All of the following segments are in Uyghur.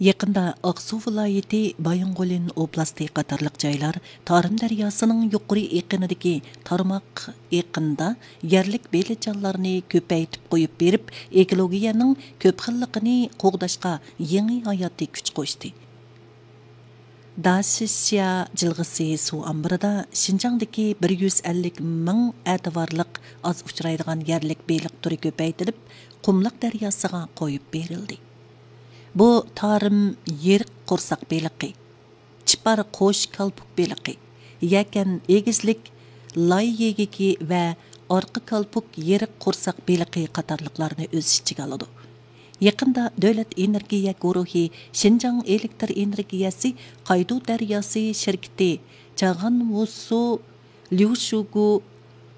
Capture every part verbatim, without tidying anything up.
يېقىندا ئاقسۇ ۋىلايىتى بايىنغولىن ئوبلاستى قاتارلىق جايلار تارىم دەرياسىنىڭ يۇقىرى ئېقىنىدىكى تارماق ئېقىندا يەرلىك بېلىقچانلارنى كۆپەيتىپ قويۇپ بېرىپ، ئېكولوگىيەنىڭ كۆپ خىللىقىنى قوغداشقا يېڭى ھاياتىي كۈچ قوشتى. داشىشيا جىلغىسى سۇ ئامبىرىدا شىنجاڭدىكى بىر يۈز ئەللىك مىڭ ئەتىۋارلىق ئاز ئۇچرايدىغان يەرلىك بېلىق تۈرى كۆپەيتىلىپ، قۇملۇق دەرياسىغا قويۇپ بېرىلدى. بۇ تارىم يېرىق قورساق بېلىقى، چىپار قوش كالپۇك بېلىقى، يەكەن ئېگىزلىك لاي يېگىكى ۋە ئارقا كالپۇك يېرىق قورساق بېلىقى قاتارلىقلارنى ئۆز ئىچىگە ئالىدۇ. يېقىندا دۆلەت ئېنېرگىيە گۇرۇھى شىنجاڭ ئېلېكتر ئېنېرگىيەسى قايدۇ دەرياسى شىركىتى چاغانۋۇسۇ، ليۇشۇگۇ،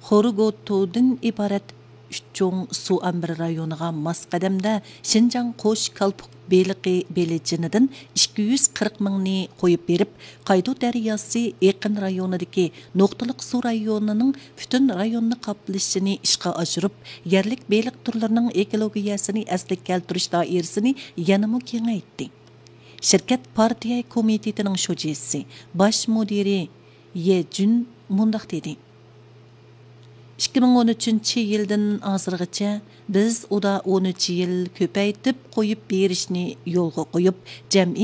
خورۇگوتۇدىن ئىبارەت ئۈچ چوڭ سۇ ئامبىرى رايونىغا ماس قەدەمدە شىنجاڭ قوش كالپۇك بېلىقى بېلىجىنىدىن ئىككى يۈز قىرىق مىڭنى قويۇپ بېرىپ، قايدۇ دەرياسى ئېقىن رايونىدىكى نۇقتىلىق سۇ رايونىنىڭ پۈتۈن رايوننى قاپلىشىنى ئىشقا ئاشۇرۇپ، يەرلىك بېلىق تۈرلىرىنىڭ ئېكولوگىيەسىنى ئەسلىگە كەلتۈرۈش دائىرىسىنى يەنىمۇ كېڭەيتتى. شىركەت پارتىيە كومىتېتىنىڭ شۇجىسى، باش مۇدىرى يې جۈن مۇنداق دېدى: «ئىككى مىڭ ئون ئۈچىنچى يىلدىن ھازىرغىچە بىز ئۇدا ئون ئۈچ يىل كۆپەيتىپ قويۇپ بېرىشنى يولغا قويۇپ، جەمئىي